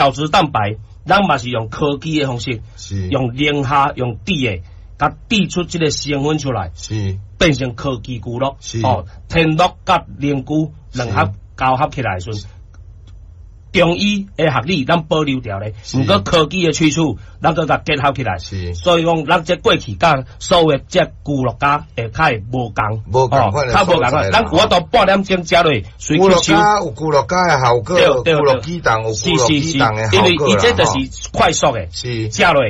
角質蛋白，咱嘛是用科技的方式，用寧夏用滴的，共滴出這个成分出來，變成科技龜鹿，哦，天樂佮靈龜兩合交合起來的時陣，中醫的學理咱保留著咧，毋過科技的萃取，咱閣共結合起來。所以講，咱這過去佮所有的這龜鹿膠會較會無仝，無仝款的較無仝款。咱有法度半點鐘食落，隨吸收。龜鹿膠有龜鹿膠的效果，龜鹿肌凍有龜鹿肌凍的效果。因為伊這就是快速的，食落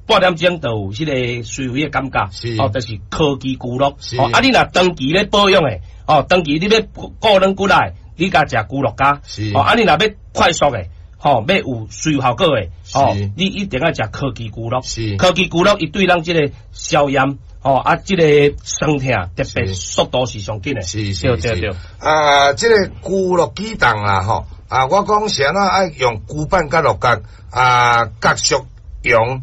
半點鐘就有彼個隨味的感覺。哦，就是科技龜鹿。哦，啊，你若長期咧保養的，哦，長期你欲顧軟骨力，你共食龜鹿膠。哦，啊，你若欲快速的，吼，欲有隨效果的，吼，你一定愛食科技龜鹿。科技龜鹿，伊對咱這个消炎，吼，啊，這个酸痛特別速度是上緊的。對對對。啊，這个龜鹿肌凍啦，吼，啊，我講是按怎愛用龜板佮鹿角，啊，角屬陽，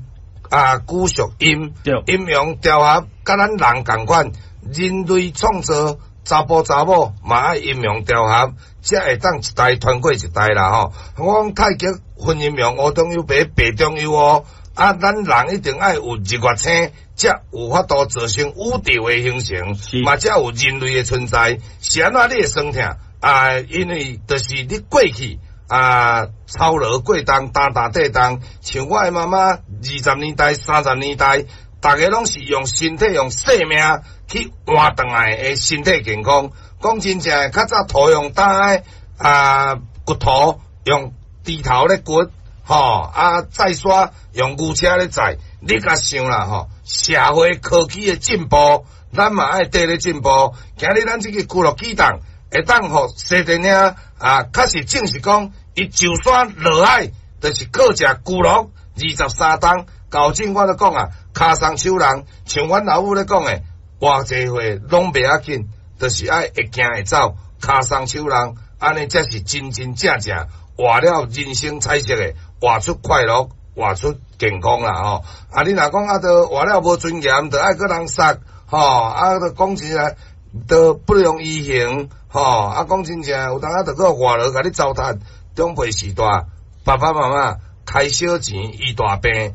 啊，龜屬陰，陰陽調和，佮咱人仝款，人類創造查埔查某嘛愛陰陽調和，才會當一代傳過一代啦吼。我講太極分陰陽，烏中有白，白中有烏。啊，咱人一定愛有日月星，才有法度造成宇宙的形成，嘛才有人類的存在。是按怎你會酸痛？啊，因為就是你過去啊，操勞過重，擔擔底重，像我的媽媽20年代、30年代，逐个攏是用身體、用生命去換轉來的身體健康。講真正的，較早土用擔的啊，骨頭用豬頭咧掘，吼啊，載沙用牛車咧載。你共想啦，吼，社會科技的進步，咱嘛愛綴咧進步。今日咱這个龜鹿肌凍會當予西電兄啊，確實證實講，伊上山落海，就是靠食龜鹿23冬。厚正我咧講啊，跤鬆手人，像阮老母咧講的，偌濟歲攏袂要緊，就是愛會行會走，跤鬆手人，按呢才是真真正正活了人生彩色的，活出快樂，活出健康啦吼。啊，你若講啊，著活了無尊嚴，著愛閣人殺，吼，啊，著講起來，著不容易行，吼，啊，講真正，有當仔著閣外勞共你糟蹋。長輩時代，爸爸媽媽開小錢醫大病。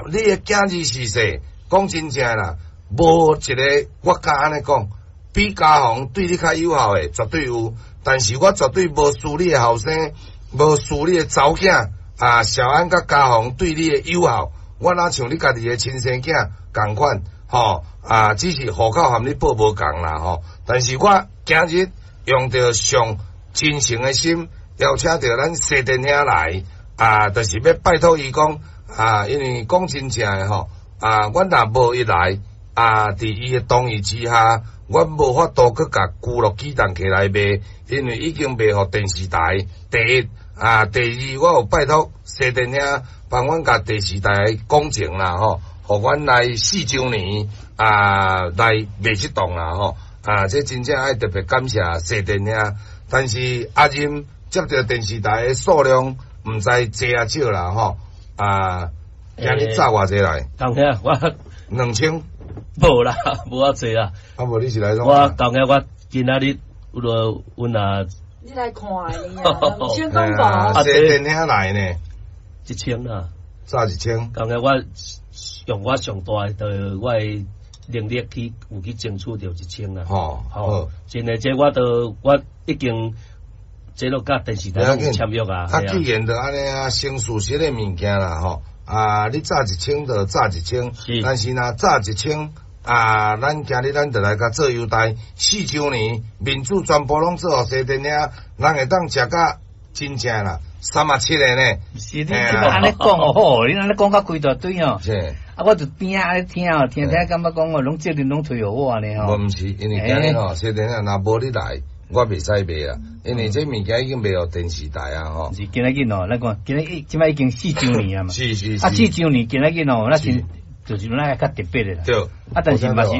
你的囝兒是說，講真正啦，無一个我敢按呢講，比家宏對你較友好的絕對有，但是我絕對無輸你的後生，無輸你的查某囝啊，小安佮家宏對你的友好，我哪像你家己的親生囝仝款，吼啊，只是戶口和你報無仝啦，吼。但是我今日用著上真誠的心邀請著咱西電兄來，啊，就是欲拜託伊講。啊，因為講真正的吼，啊，阮若無伊來，啊，佇伊的同意之下，阮無法度閣共龜鹿肌凍起來賣，因為已經賣予電視台。第一，啊，第二，我有拜託西電兄幫阮共電視台講情啦吼，予阮來四週年啊來賣這檔啦吼，啊，這真正愛特別感謝西電兄。但是阿任接著電視台的數量，毋知濟抑少啦吼。啊！今日紮偌濟來？當兄，我 2000？無啦，無遐濟啦。啊無你是來創？我當兄，我今仔日有落阮啊。你來看的啊？2000講無？啊，西電兄來呢？ 1000啦。紮1000。當兄，我用我上大的我的能力去有去爭取著1000啦。吼，好，真的，這我都我已經。這都佮電視台有簽約啊！啊，既然就按呢啊，先事實的物件啦吼，啊，你紮一千就紮一千，但是若紮一千啊，咱今日咱就來共做優待，四週年民主全部攏做予西電兄，人會當食甲真正啦，三啊七个呢。是你這擺按呢講哦，好，你按呢講甲規大堆哦。是。啊，我就邊仔按呢聽哦，聽聽感覺講哦，攏責任攏推予我呢吼。無毋是，因為今日吼，西電兄若無你來，我袂使賣啊，因為這物件已經賣予電視台啊吼。是今仔日哦，咱看今日這擺已經四週年啊嘛。是是是。啊，四週年今仔日哦，咱是就是咱較特別的啦。對。啊，但是嘛是，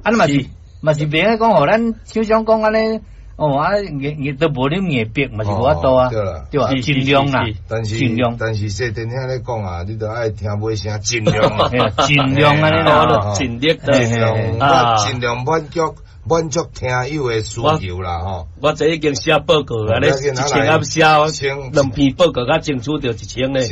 啊，嘛是嘛是袂使講予咱廠商講按呢，哦啊硬硬都無恁硬逼嘛是無法度啊。對啦。對啊，盡量啦。但是盡量。但是西電兄咧講啊，你著愛聽尾聲，盡量啊。盡量按呢啦。盡力盡量，盡量滿足。滿足聽友的需求啦吼。我這已經寫報告啊，你一千盒寫兩篇報告，才爭取著一千咧。